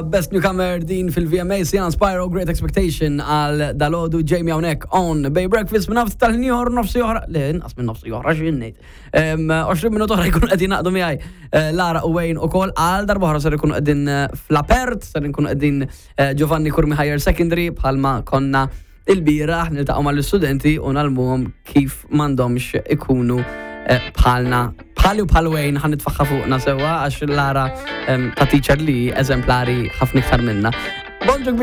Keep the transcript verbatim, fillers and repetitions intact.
Best Newcomer din fil-V M A, Sian Spyro, Great Expectation għal dalgħodu. Jamie hawnhekk on Bay Breakfast minn nafs tal-ieħor nofsi oħra, le, inqas minn nofsi oħra, x'ngħid. għoxrin minuta oħra jkunu qegħdin naqdu miegħi eh, Lara u Wayne ukoll għal darba oħra. Ser ikunu qegħdin eh, fl-Apert, ser ikunu qegħdin eh, Giovanni Curmi Higher Secondary bħalma konna il-bieraħ, niltaqgħu mal-istudenti u ngħallmuhom kif m'għandhomx ikunu eh, bħalna, bħali u bħal Wayne. Ħa nitfagħha fuqna sewwa, għax Lara em, ta' teacher li eżemplari ħafna iktar minna. Bonġu.